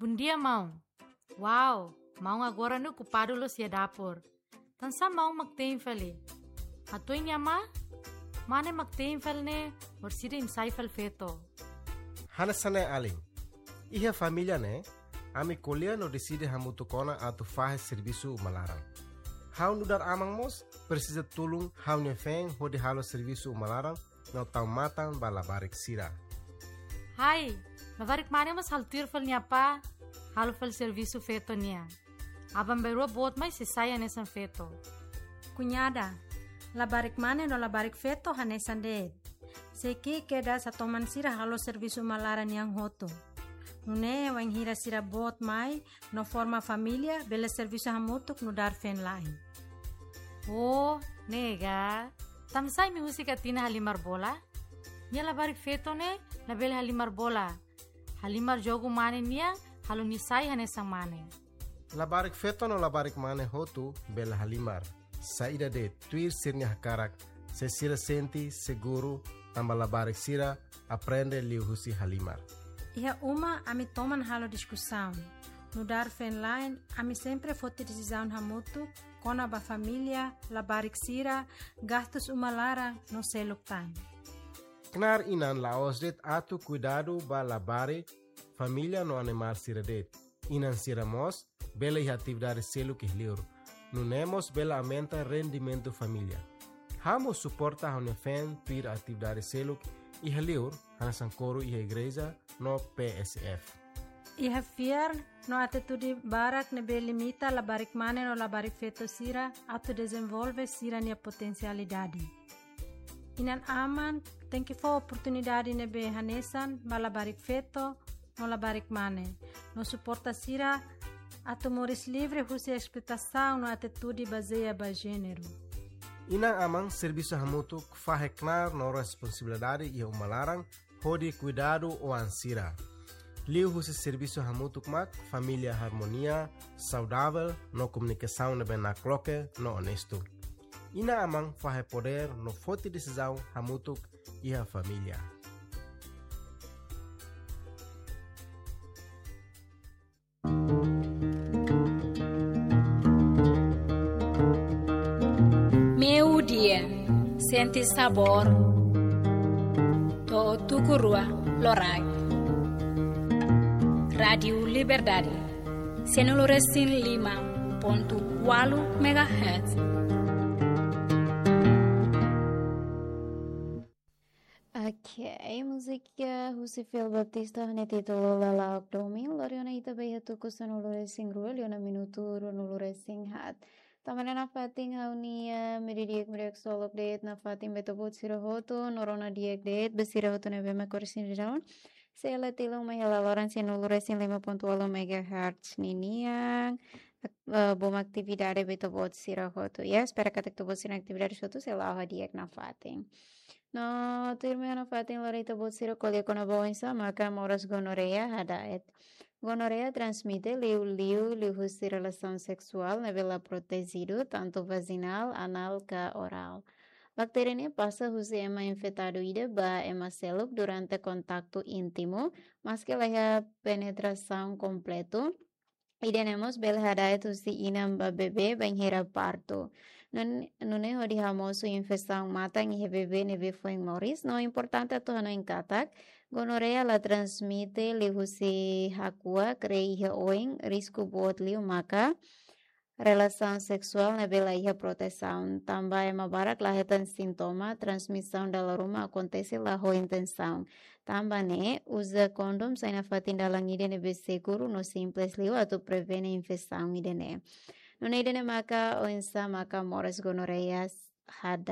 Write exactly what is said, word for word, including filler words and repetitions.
Bondia, maun. Wow, maun agora ne'e okupadu loos iha dapur. Tansá maun mak tein fali? Hato'o nia ma? Mane mak tein fali ne'e, orsida imi sai fali feto. Hanesan ne'e alin. Iha família ne'e, ami ko'alia no deside hamutuk ona atu fahe servisu uma laran. Ha'u nu'udar aman mós presiza tulun ha'u-nia feen hodi halo servisu uma laran no tau matan ba labarik sira. Hai, labarik mane mós halo tuir fali nia apá, halo fali servisu feto nian. Aban-bainrua boot mai sei sai hanesan feto. Kuñada, labarik mane no labarik feto hanesan de'it. Sei ki'ik kedas hatoman sira halo servisu uma laran nian hotu. Nune'e wainhira sira boot mai no forma família, bele servisu hamutuk nu'udar feen-la'en. Oh, ne'e ka. Tansá imi husik Atina halimar bola? Nia labarik feto ne'e labele halimar bola. Halimar jogu mane nian, halo nia sai hanesan mane. Labarik feto no labarik mane hotu bele halimar. Saida de'it, tuir sira-nia hakarak, se sira sente seguru, tanba labarik sira aprende liuhusi halimar. Iha uma ami toman halo diskusaun. Nu'udar feen-la'en, ami sempre foti desizaun hamutuk kona-ba família, labarik sira, gastus uma laran no seluk tan. Knaar inan la'ós de'it atu kuidadu ba labarik, família no animál sira de'it. Inan sira mós bele iha atividade seluk iha li'ur. Nune'e mós bele aumenta rendimentu família. Ha'u mós suporta ha'u-nia feen tuir atividade seluk iha li'ur, hanesan koru iha igreja no P S F. Iha fiar no atitude barak ne'ebé limita labarik mane no labarik feto sira atu dezenvolve sira-nia potensialidade. Inan-aman tenke fó oportunidade ne'ebé hanesan ba labarik feto no labarik mane, no suporta sira atu moris livre husi esploitasaun no atitude bazeia ba jéneru. Inan-aman servisu hamutuk fahe knaar no responsabilidade iha uma laran hodi kuidadu oan sira. Liuhusi servisu hamutuk mak família harmonia, saudavel no komunikasaun ne'ebé nakloke no onestu. Inan-aman fahe podér no foti desizaun hamutuk iha família. Meio-dia, sente sabor, to'o tuku rua loraik. Rádiu Liberdade, sianulu resin lima pontu ualu megahertz. Ok, múzika husi Fil Baptista ho nia títulu Lala'ok Domin, lori ona ita ba iha tuku sanulu resin rua, liu ona minutu ruanulu resin haat. Tanba ne'e nafatin ha'u-nia, eh, meio-dia di'ak, meio-dia di'ak solok de'it nafatin ba ita-boot sira hotu, no rona di'ak de'it ba sira hotu ne'ebé mak orsida daun. Sei la tilun mai hela loron sianulu resin lima pontu ualu megahertz ninian, eh, bom atividade ba ita-boot sira hotu. Ya, espera katak ita-boot sira-nia atividade hotu sei la'o ho di'ak nafatin. No, tuirmai nafatin lori ita-boot sira ko'alia kona-ba oinsá maka moras gonorreia hada'et. Gonorreia transmite liuliu liuhusi relasaun seksuál ne'ebé la protejidu, tantu vajinál, anál ka orál. Baktéria ne'e pasa husi ema infetadu ida ba ema seluk durante kontaktu íntimu, maske la iha penetrasaun kompletu. Ida-ne'e mós bele hada'et husi inan ba bebé bainhira partu. Nun-, nune'e hodi hamosu infestaun matan iha bebé ne'ebé foin moris, no importante atu hanoin katak, gonorreia la transmite liuhusi hakuak, rei iha oin, risku boot liu maka relasaun seksuál ne'ebé la iha protesaun. Tanba ema barak la hetan sintoma, transmisaun dala ruma akontese la ho intensaun. Tanba ne'e, uza kondom sai nafatin dalan ida ne'ebé seguru no simples liu atu prevene infestaun ida-ne'e. Nune'e ida-ne'e maka oinsá maka moras gonorreia hada'et.